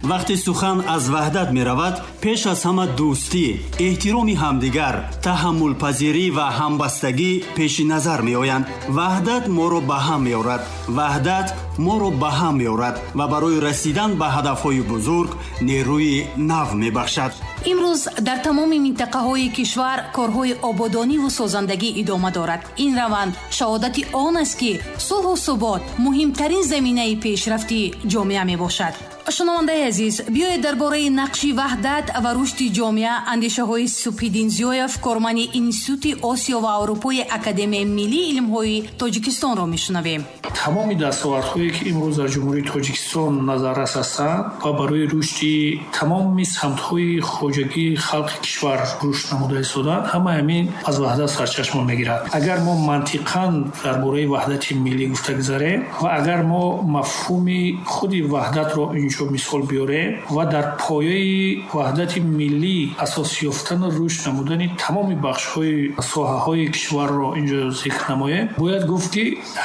Вақте сухан аз ваҳдат меравад, пеш аз ҳама дӯстӣ, эҳтироми ҳамдигар, таҳаммулпазирӣ ва ҳамбастагӣ пеши назар меоянд. Ваҳдат моро ба ҳам меорад. Ваҳдат моро ба ҳам меорад ва барои расидан ба ҳадафҳои бузург нерӯи нав мебахшад. Имрӯз дар тамоми минтақаҳои кишвар корҳои ободониву созандагӣ идома дорад. Ин раванд шаҳодати он аст, ки сулҳу субот муҳимтарин заминаи пешрафти ҷомеа мебошад. Шунавандаи азиз, биёед дар бораи нақши ваҳдат ва рушди ҷомеа андешаҳои Субҳиддин Зиёев, корманди Институти Осиё ва Аврупои Академияи миллии илмҳои Тоҷикистонро мешунавем. Тамоми дастовардҳое, ки имрӯз дар Ҷумҳурии Тоҷикистон назаррас ҳастанд ва барои рушди тамоми самтҳои хоҷагии халқи кишвар рушд намуда истодаанд, ҳамаи ҳамин аз ваҳдат сарчашма мегирад. Агар мо мантиқан дар бораи ваҳдати миллӣ гуфта гузарем ва агар мо мафҳуми худи ваҳдатро инҷо мисол биёрем ва дар пояи ваҳдати миллӣ асос ёфтану рушд намудани тамоми бахшҳои соҳаҳои кишварро инҷо зикр намоем, бояд гуфт, ки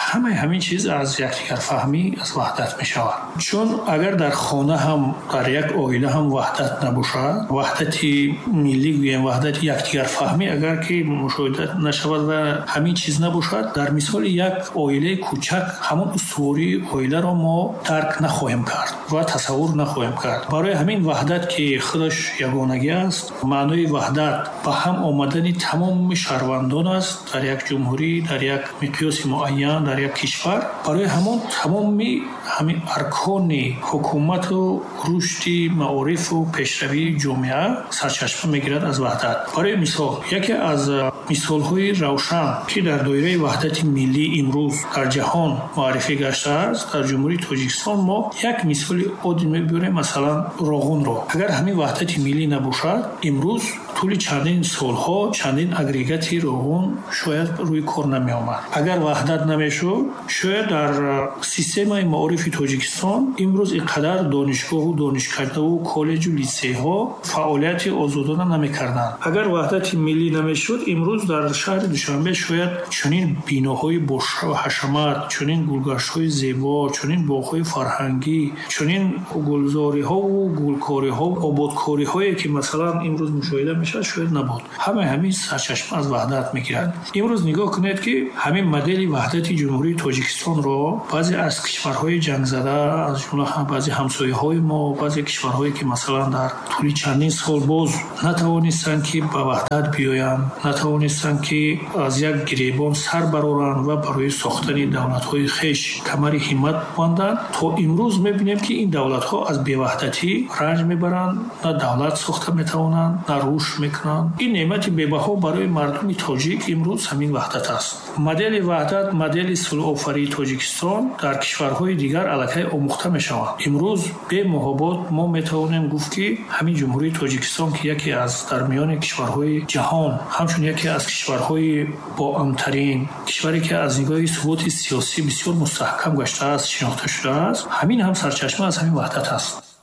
ҳамаи ҳамин чиз аз якдигарфаҳмӣ, аз ваҳдат мешавад. Чун агар дар хона ҳам, дар як оила ҳам ваҳдат набошад, ваҳдати миллӣ гӯем, ваҳдати якдигарфаҳмӣ агар ки мушоҳида нашавад ва ҳамин чиз набошад, дар мисоли як оилаи кӯчак ҳамон устувории оиларо мо дарк нахоҳем кард ва тасаввур нахоҳем кард. Барои ҳамин ваҳдат, ки худаш ягонагӣ аст, маънои ваҳдат ба ҳам омадани тамоми шаҳрвандон аст дар як ҷумҳурӣ, дар як миқёси муайян, дар як кишвар. Барои ҳамон тамоми ҳамин аркони ҳукумату рушди маорифу пешравии ҷомеа сарчашма мегирад аз ваҳдат. Барои мисол, яке аз мисолҳои равшан, ки дар доираи ваҳдати миллӣ имрӯз дар ҷаҳон муаррифӣ гаштааст, дар Ҷумҳурии Тоҷикистон мо як мисоли оддӣ мебиёрем, масалан, Роғунро. Агар ҳамин ваҳдати миллӣ набошад, имрӯз тӯли чандин солҳо чандин агрегати Роғун шояд рӯи кор намеомад. Агар ваҳдат намешуд, шояд дар системаи маорифи Тоҷикистон имрӯз ин қадар донишгоҳу донишкардаву коллеҷу литсейҳо фаъолияти озодона намекарданд. Агар ваҳдати миллӣ намешуд, имрӯз дар шаҳри Душанбе шояд чунин биноҳои боҳашамат, чунин гулгаштҳои зебо, чунин боғҳои фарҳангӣ, чунин гулзориҳову гулкориҳо, ободкориҳое, ки масалан имрӯз мушоҳида мешавад, шояд набуд. Ҳамаи ҳамин сарчашма аз ваҳдат мегирад. Имрӯз нигоҳ кунед, ки ҳамин модели ваҳдати Ҷумҳурии Тоҷикистонро баъзе аз кишварҳои ҷангзада, аз ҷумла баъзе ҳамсояҳои мо, баъзе кишварҳое, ки масалан дар тӯли чандин сол боз натавонистанд, ки ба ваҳдат биёянд, натавонистанд, ки аз як гиребон сар бароранд ва барои сохтани давлатҳои хеш камари ҳиммат банданд, то имрӯз мебинем, ки ин давлатҳо аз беваҳдатӣ ранҷ мебаранд, на давлат сохта метавонанд, на рушд мекунанд. Ин неъмати бебаҳо барои мардуми тоҷик имрӯз ҳамин ваҳдат аст. Модели ваҳдат, модели сулҳофарии Тоҷикистон дар кишварҳои дигар аллакай омӯхта мешаванд. Имрӯз бемуҳобот мо метавонем гуфт, ки ҳамин Ҷумҳурии Тоҷикистон, ки яке аз дар миёни кишварҳои ҷаҳон ҳамчун яке аз кишварҳои боамнтарин, кишваре, ки аз нигоҳи суботи сиёсӣ бисёр мустаҳкам гаштааст, шинохта шудааст, ҳамин ҳам сарчашма аз ҳамин ваҳдат аст.